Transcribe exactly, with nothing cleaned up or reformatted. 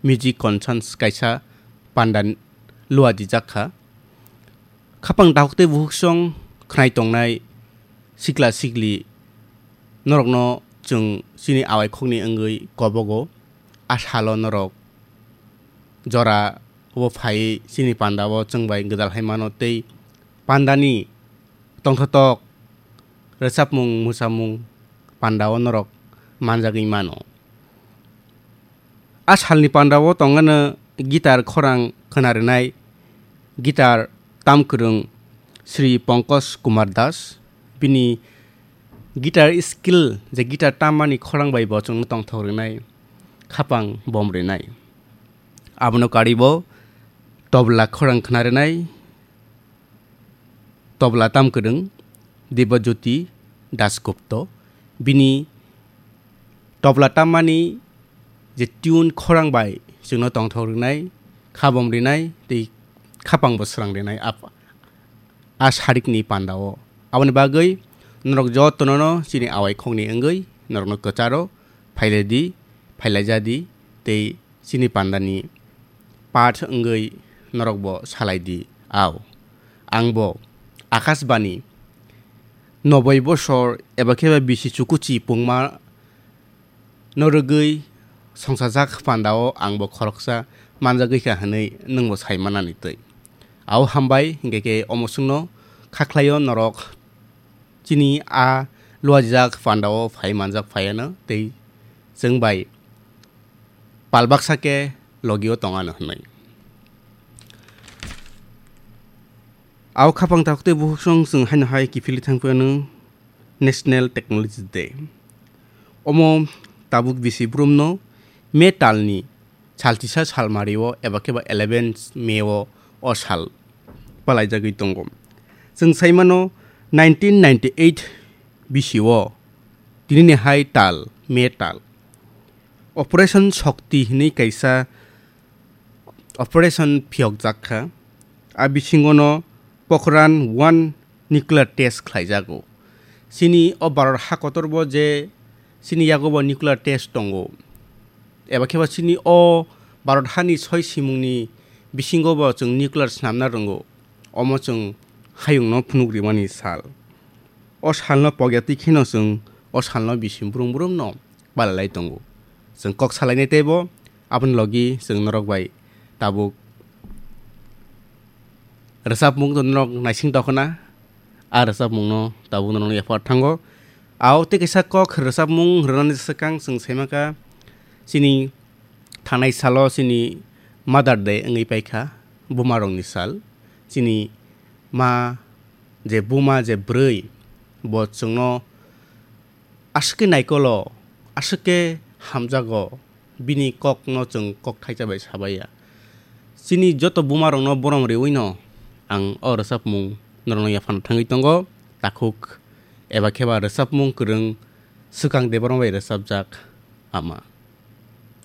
music concerts kaisa panda lua dijak kha. Khapang dakhuk tei bukhuk song khnai tongnai sikla sikli norokno chwng chini awai khokni wngwi kobogo. A salo norok jora o phaiwi chini panda o chwng bai gwdal hai mano tei pandani tongthotok rwchapmung mwsamung panda o norok manjagwi mano. A salni panda o tongano guitar khorang khwna rwnai guitar tam kwrwng Sri Pankaj Kumar Das. Bini guitar skill je guitar tammani khorang bai bo chwngno tongthok rwnai khapang bom rwnai. Abono karibo tobla khorang khwna rwnai tobla tam kwrwng Debajyoti Dasgupta. Bini tobla tammani je tune khorang bai chwngno tongthok rwnai, khabom rwnai tei khapang bo srang rwnai a, a sarikni panda o. Aboni bagwi norok jotono no chini awai khokni wngwi norokno kwcharo phailai di, phailai ja di tei chini pandani part wngwi norokbo salai di. Au, angbo Akashbani noboi bosor eba khe ba bisi chukuchi pungma no rwgwi songsajak pandao angbo khoroksa manjagwi kha hwnwi nwngbo sai manani twi. Au hambai, hinkhe khe omo chwngno kha khlaio norok chini a luajak pandao phai manjak phaiano tei chwng bai pal baksa khe logio tongano hwnwi. Au khapang takhuk tei bukhuk song chwng haino hai kiphilwi thang phano National Technology Day. Omo tabuk bisi brumno May talni salchisa salmario eba khe ba eleven May o o sal palaijagwi tongo. Chwng saimano nineteen ninety-eight bisi o tinini hai tal, May tal Operation Shakti hwnwi kaisa operation phiyokjak kha. A bisingono Pokhran one nuclear test khlaijago. Chini o Bharat ha kotorbo je chini yagobo nuclear test tongo, eba khe ba chini o Bharat hani soi simungni bisingobo chwng nuclear snamna rwngo. Omo chwng hayungno phunuk rimani sal. O salno pokya twi kheno chwng o salno bisi brum brumno balalai tongo. Chwng kok salainai teibo aboni logi chwng norok bai tabuk rwchapmung norok naising tokna, a rwchapmungno tabuk norokno yaphar thango. Ao tei kaisa kok rwchapmung rwnani swkang chwng saimakha chini thanai salo chini Mother Day wngwi paikha, bumarokni sal. Chini ma je buma je bwrwi bo chwngno aswk khe naikolo, aswk khe hamjago, bini kokno chwng kok thaisa bai sabaiya. Chini joto bumarokno borom riwino ang o rwchapmung norokno yaphano thangwi tongo, takhuk eba khe ba rwchapmung kwrwng Swkang Debbarma bai rwchapjak Ama.